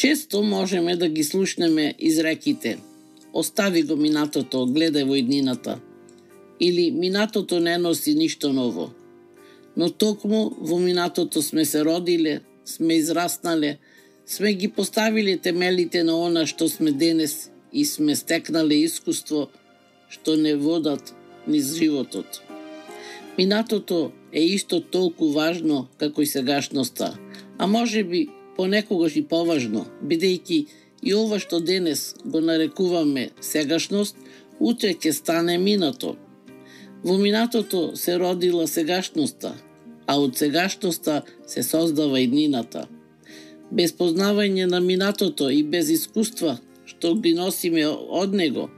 Често можеме да ги слушнеме изреките: остави го минатото, гледај во иднината, или минатото не носи ништо ново. Но токму во минатото сме се родиле, сме израснале, сме ги поставиле темелите на она што сме денес и сме стекнале искуство што не водат низ животот. Минатото е исто толку важно како и сегашноста, а може би понекогаш и поважно, бидејќи и ова што денес го нарекуваме сегашност, утре ќе стане минато. Во минатото се родила сегашноста, а од сегашноста се создава иднината. Без познавање на минатото и без искуства што ги носиме од него,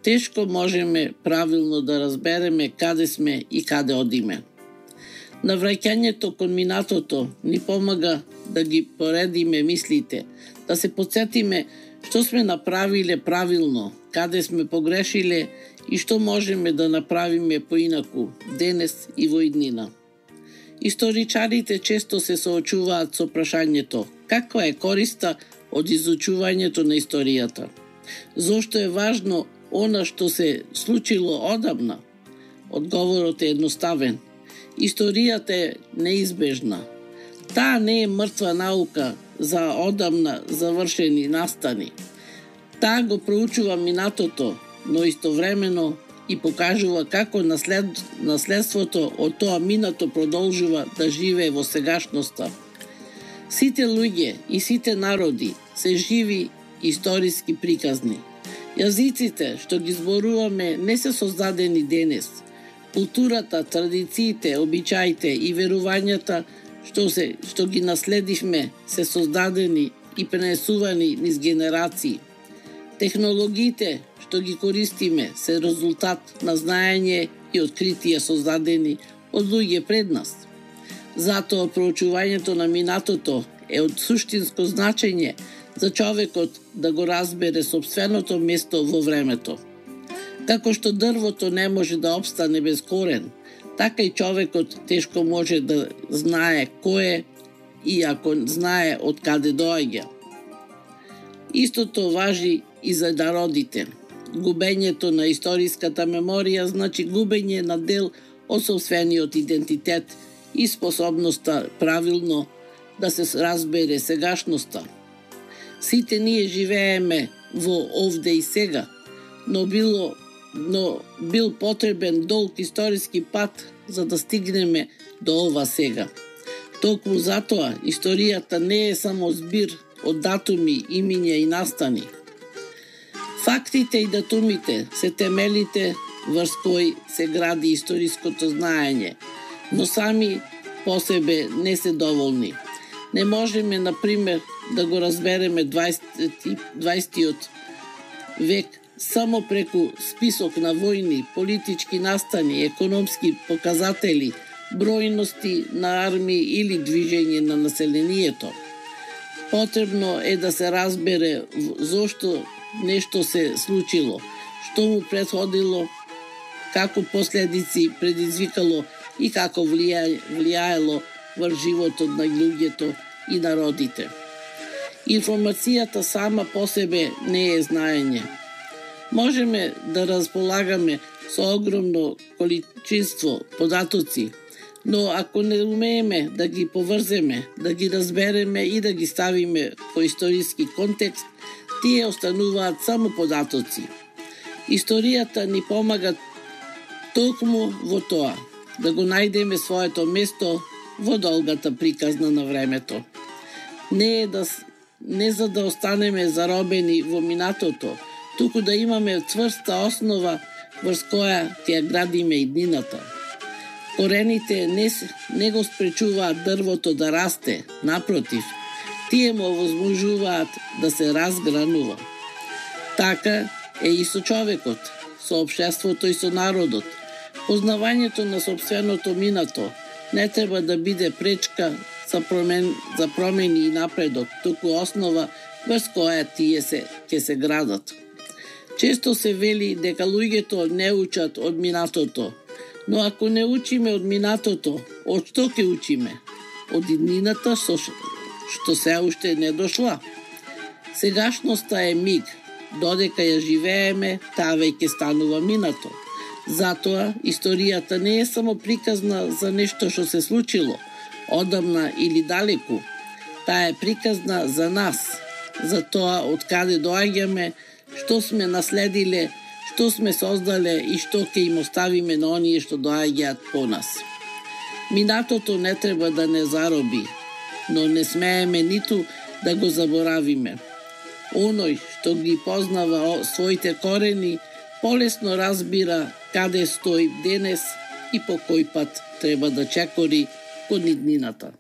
тешко можеме правилно да разбереме каде сме и каде одиме. Навраќањето кон минатото ни помага да ги поредиме мислите, да се потсетиме што сме направиле правилно, каде сме погрешиле и што можеме да направиме поинаку денес и во иднина. Историчарите често се соочуваат со прашањето: каква е користа од изучувањето на историјата? Зошто е важно она што се случило одамна? Одговорот е едноставен. Историјата е неизбежна. Таа не е мртва наука за одамна завршени настани. Таа го проучува минатото, но истовремено и покажува како наследството од тоа минато продолжува да живее во сегашноста. Сите луѓе и сите народи се живи историски приказни. Јазиците што ги зборуваме не се создадени денес. Културата, традициите, обичаите и верувањата што ги наследивме се создадени и пренесувани низ генерации. Технологиите што ги користиме се резултат на знаење и откритија создадени од луѓе пред нас. Затоа проучувањето на минатото е од суштинско значење за човекот да го разбере сопственото место во времето. Како што дрвото не може да опстане без корен, така и човекот тешко може да знае кој е и ако знае од каде доаѓа. Истото важи и за народите. Губењето на историската меморија значи губење на дел од сопствениот идентитет и способноста правилно да се разбере сегашноста. Сите ние живееме во овде и сега, но бил потребен долг историски пат за да стигнеме до ова сега. Токму затоа историјата не е само збир од датуми, имиња и настани. Фактите и датумите се темелите врз кои се гради историското знаење, но сами по себе не се доволни. Не можеме, например, да го разбереме 20 век само преку список на војни, политички настани, економски показатели, бројности на армии или движење на населението. Потребно е да се разбере зошто нешто се случило, што му претходило, како последици предизвикало и како влијаело врз животот на луѓето и народите. Информацијата сама по себе не е знаење. Можеме да располагаме со огромно количество податоци, но ако не умееме да ги поврземе, да ги разбереме и да ги ставиме во историски контекст, тие остануваат само податоци. Историјата ни помага токму во тоа, да го најдеме своето место во долгата приказна на времето. Не за да останеме заробени во минатото, туку да имаме цврста основа врз која ќе градиме иднината. Корените не го спречуваат дрвото да расте, напротив, тие му овозможуваат да се разгранува. Така е и со човекот, со општеството и со народот. Познавањето на сопственото минато не треба да биде пречка за промени и напредок, туку основа врз која тие ќе се градат. Често се вели дека луѓето не учат од минатото, но ако не учиме од минатото, од што ќе учиме? Од иднината што се уште не дошла. Сегашноста е миг, додека ја живееме, таа веќе станува минато. Затоа, историјата не е само приказна за нешто што се случило, одамна или далеку. Таа е приказна за нас, за тоа од каде доаѓаме, што сме наследиле, што сме создале и што ќе им оставиме на оние што доаѓаат по нас. Минатото не треба да не зароби, но не смееме ниту да го заборавиме. Оној што ги познава своите корени, полесно разбира каде стои денес и по кој пат треба да чекори кон иднината.